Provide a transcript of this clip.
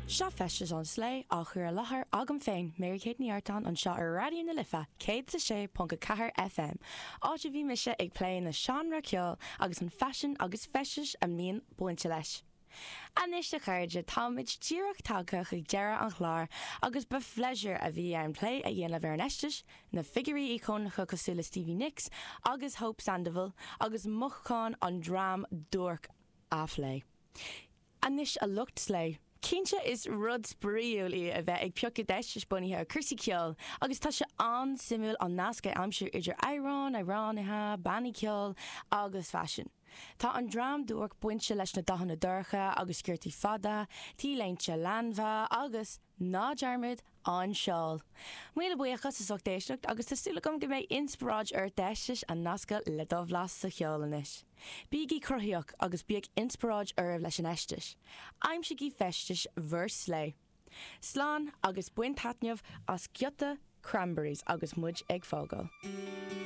Seo Feisteas an Slé á chur i láthair agam féin, Mary Kate Ní Artáin, anseo ar Raidió na Life 106.4 FM, áit a bhí mise ag plé na seánra ceoil agus an faisean agus feistis a mbíonn bainte leis. Anois a chairde, táimid díreach tagtha chuig deireadh an chláir agus ba phléisiúr a bhí ann plé a dhéanamh ar an fheisteas, na figiúirí íocónacha cosúil le Stevie Nicks agus Hope Sandoval agus mothúcháin an dream duairc a phlé. Anois a lucht slé, cinnte is rud spraíúil í a bheith ag piocadh d'fheistis bunaithe ar cúrsaí ceoil agus tá sé an-suimiúil an nasc a aimsiú idir amhráin, amhránaithe, bannaí ceoil agus faisean. Tá an dream duairc bainte leis na dathanna dorcha agus sciortaí fada, T-léinte leanbha agus, ná dearmad, an seál. Míle buíochas as ucht éisteacht agus tá súil agam go mbeidh inspioráid ort d'fheistis a nascadh le do bhlas sa cheol anois. Bígí cruthaíoch agus bíodh inspioráid oraibh leis an fheisteas. Aimsigí feistis bhur slé. Slán agus bain taitneamh as giota Cranberries agus muid ag fágáil.